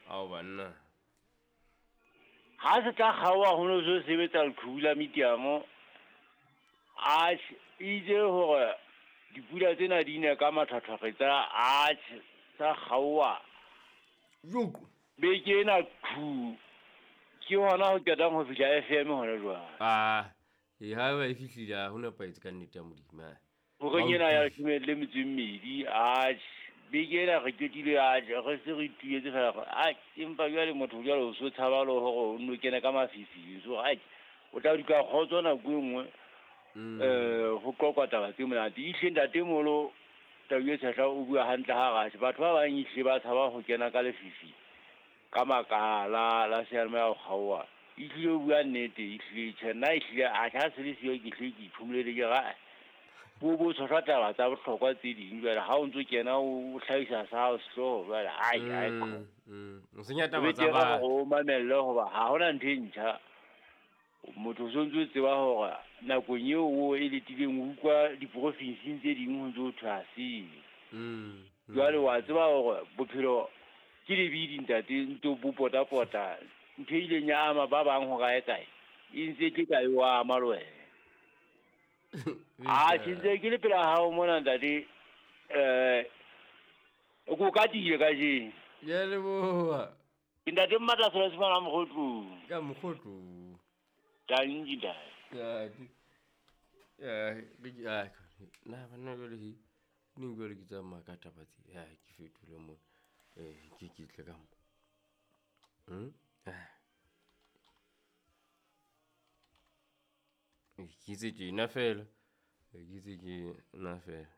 Ao banna. Ha se tla kgaoha ho no so sebetsa leqhubu la mitiamo. Atjhe, itse hore dipula tsena di ne ka mathwathwakgetsa, atjhe, sa kgaoha. Joko. Beke ena qhu. Ke hona ho qetang ho fihla FM hona jwale. Ah, e ha ba e fihlile ha ho nepahetse ka nnete ya Modimo. Ah. Horeng ena ya 12, atjhe, beke ena re qetile, atjhe, re se re tuetse fela, atjhe, empa jwale motho jwale o so tshaba le hore o nno kene ka mafifing, so atjhe, o tla duka kgotso nako e nngwe, ho qoqwa taba tse monate. Ehlile ntatemoholo Tau e Tshehla o bua hantle ha re atjhe, batho ba bang ehlile ba tshaba ho kena ka lefifi ka makala la seyalemoya ho kgaoha. Ehlile o bua nnete, ehlile tjhe, nna ehlile atjhe ha se le siyo ke hlile ke iphomolele ke re, bo bo tshohlwa taba tsa bohlokwa tse ding jwale ha o ntso kena o hlahisa sa hao sehlooho jwale, ai, ai, O senya taba o tsa betere batho. hore o mamelle hoba ha hona ntho e ntjha. Motho o sontso o tseba hore nakong eo o e letileng o utlwa diprofinsing tse ding ho ntso ho thwe ha se. Jwale wa tseba hore bophelo ke lebidi ntate, ntso bo potapota. Ntho e ileng ya ama ba bang ho kae kae, e ntse ke ka e o ama le wena. Atjhe, ntse ke le pela hao mona ntate, ko katile kajeno. Ke a leboha. Ke ntate Mmatla Sela Sefana Mokgotlong. Ka Mokgotlong. Tanki ntate. Ntate. Ya, re ke, ah, na banna jwale he, neng jwale ke tsamaya ka taba tse, ya, ke fetole mona. Ke tle ka mo. Ah. Ke itse tjena fela. Ke itse tjena fela.